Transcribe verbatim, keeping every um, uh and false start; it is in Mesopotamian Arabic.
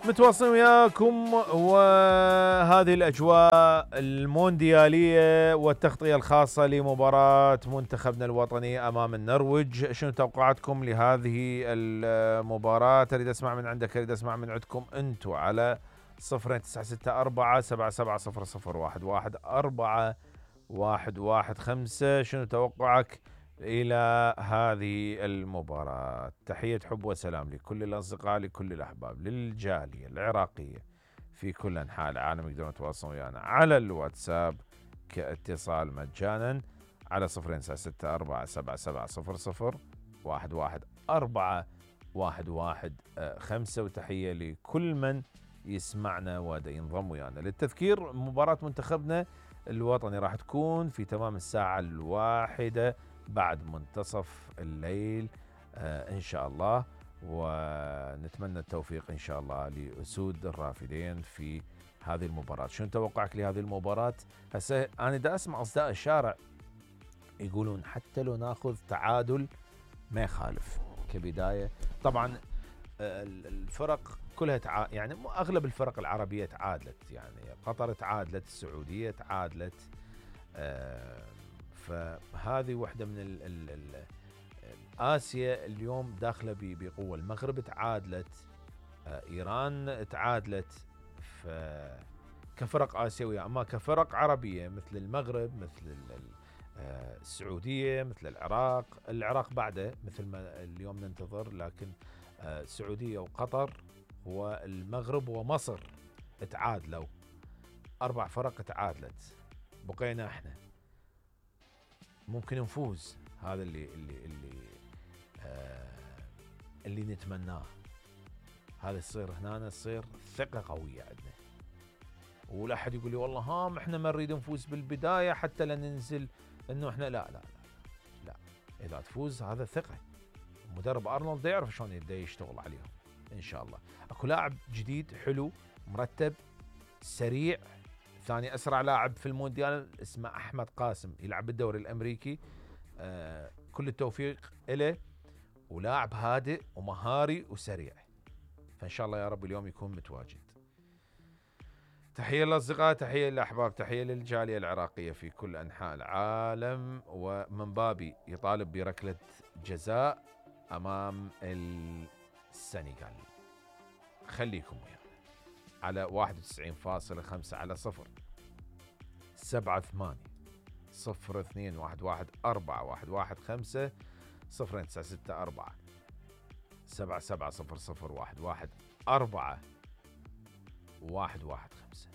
متواصلين وياكم وهذه الأجواء المونديالية والتغطية الخاصة لمباراة منتخبنا الوطني أمام النرويج. شنو توقعاتكم لهذه المباراة؟ أريد أسمع من عندك، أريد أسمع من عندكم أنتم على صفرين تسعة ستة أربعة سبعة سبعة صفر صفر واحد واحد أربعة واحد واحد خمسة. شنو توقعك إلى هذه المباراة؟ تحية حب وسلام لكل الأصدقاء، لكل الأحباب، للجالية العراقية في كل أنحاء العالم. يقدرون يتواصلون ويانا على الواتساب كاتصال مجانا على صفرين تسعة ستة أربعة سبعة سبعة صفر صفر واحد واحد أربعة واحد واحد خمسة. وتحية لكل من يسمعنا ودا ينضم ويانا. للتذكير، مباراة منتخبنا الوطني راح تكون في تمام الساعة الواحدة بعد منتصف الليل آه إن شاء الله، ونتمنى التوفيق إن شاء الله لأسود الرافدين في هذه المباراة. شنو توقعك لهذه المباراة؟ هسه أنا دا أسمع أصداء الشارع يقولون حتى لو ناخذ تعادل ما يخالف كبداية. طبعا الفرق كلها تع... يعني أغلب الفرق العربية تعادلت، يعني قطر تعادلت، السعودية تعادلت، آه فهذه واحدة من ال ال ال آسيا اليوم داخلة بقوة. المغرب تعادلت، آه إيران تعادلت، كفرق آسيوية. أما كفرق عربية مثل المغرب، مثل آه السعودية، مثل العراق، العراق بعده مثل ما اليوم ننتظر، لكن آه السعودية وقطر والمغرب ومصر تعادلوا، أربع فرق تعادلت، بقينا احنا. ممكن نفوز، هذا اللي اللي اللي آه اللي نتمناه. هذا يصير هنا، تصير ثقة قوية عندنا، ولا أحد يقول لي والله هام احنا ما نريد نفوز بالبداية حتى لا ننزل انه احنا لا لا لا لا, لا. اذا تفوز هذا ثقة. مدرب ارنولد يعرف شلون يبدا يشتغل عليهم ان شاء الله. اكو لاعب جديد حلو مرتب سريع، ثاني أسرع لاعب في المونديال، اسمه أحمد قاسم، يلعب بالدوري الأمريكي. آه كل التوفيق إله، ولاعب هادئ ومهاري وسريع، فإن شاء الله يا رب اليوم يكون متواجد. تحية للأصدقاء، تحية للأحباب، تحية للجالية العراقية في كل أنحاء العالم. ومن بابي يطالب بركلة جزاء أمام السنغال. خليكم ويانا على واحد وتسعين فاصلة خمسة على صفر سبعة ثمانية صفر اثنين واحد واحد أربعة واحد واحد خمسة صفرين تسعة ستة أربعة سبعة سبعة صفر صفر واحد واحد أربعة واحد واحد خمسة.